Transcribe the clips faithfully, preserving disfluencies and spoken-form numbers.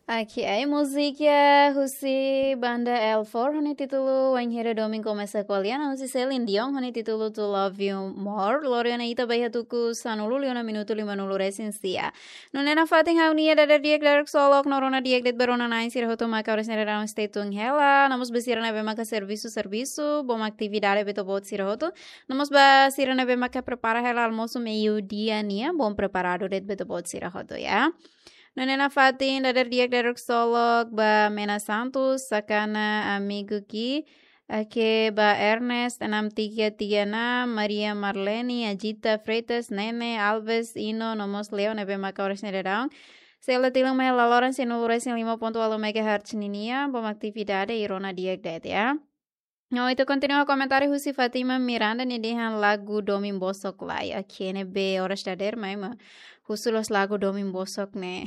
Oke, ai múzika husi banda L four ho nia títulu Wainhira Domin Komesa Ko'alia, no husi Celine Dion ho nia títulu To Love You More. Lori ona ita ba iha tuku sanulu liu ona minutu lima-nulu resin sia. Nune'e nafatin ha'u-nia dadeer di'ak dadeer ksolok no rona di'ak de'it ba rona-na'in sira hotu maka oras ne'e daudaun stay tune hela. No mós ba sira ne'ebé maka servisu, servisu, bom atividade ba ita-boot sira hotu. No mós ba sira ne'ebé maka prepara hela almosu meiudia nian, bom preparadu de'it ba ita-boot sira hotu, ya. Nune'e nafatin dadeer di'ak dadeer ksolok ba Mena Santos, Sakana Amigo Ki, oke, ba Ernest enam tiga tiga enam, Maria Marlene, Ajita Freitas, Nene, Alves, Ino, no mós Leo ne'ebé maka oras ne'e daudaun sei la tilun mai laloran sianulu resin lima pontu ualu megahertz ninian, bom atividade i rona di'ak de'it, ya. No, ita kontinua komentáriu husi Fatima Miranda, nia dehan lagu domin bosok lai. Oke, ne'ebé oras dadeer mai ema husu loos lagu domin bosok ne'e.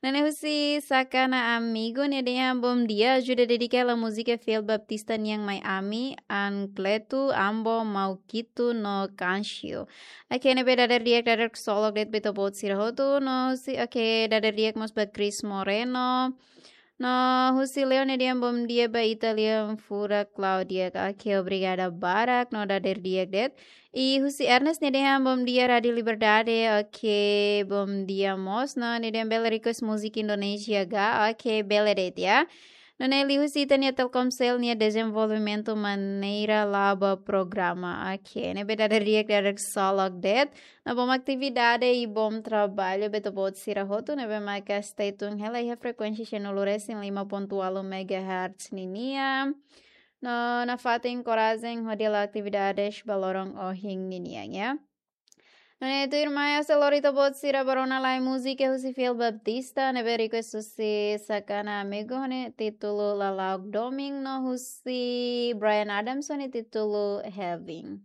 Nune'e husi Sakana Amigo, nia dehan bom dia, ajuda dedika hela múzika Fiel Baptista nian mai ami, Ancleto, Ambo, Mauquito no Cancio. Oke, ne'ebé dadeer di'ak dadeer ksolok de'it ba ita-boot sira hotu, no husi, oke, dadeer di'ak mós ba Chris Moreno. No husi Leo nia dehan bom dia ba ita-nia furak Claudia. Oke, obrigada barak, no dadeer di'ak de'it. I husi Ernest nia dehan bom dia Rádio Liberdade. Oke, bom dia mós. No nia dehan bele request múzika Indonézia ga. Oke, bele de'it, ya. Nune'e liuhusi ita-nia Telkomsel nia dezenvolvimentu maneira la'o ba programa. Oke, ne'ebé dadeer di'ak dadeer ksolok de'it. No bom atividade i bom traballu ba ita-boot sira hotu ne'ebé maka stay tune hela iha frekuénsia sianulu resin lima pontu ualu megahertz ninian. No nafatin korajen hodi halo atividades ba loron ohin ninian, ya. Nune'e tuirmai ha'u sei lori ita-boot sira ba rona lai múzika husi Fiel Baptista ne'ebé request husi Sakana Amigo ho nia títulu Lala'ok Domin no husi Bryan Adams ho nia títulu Heaven.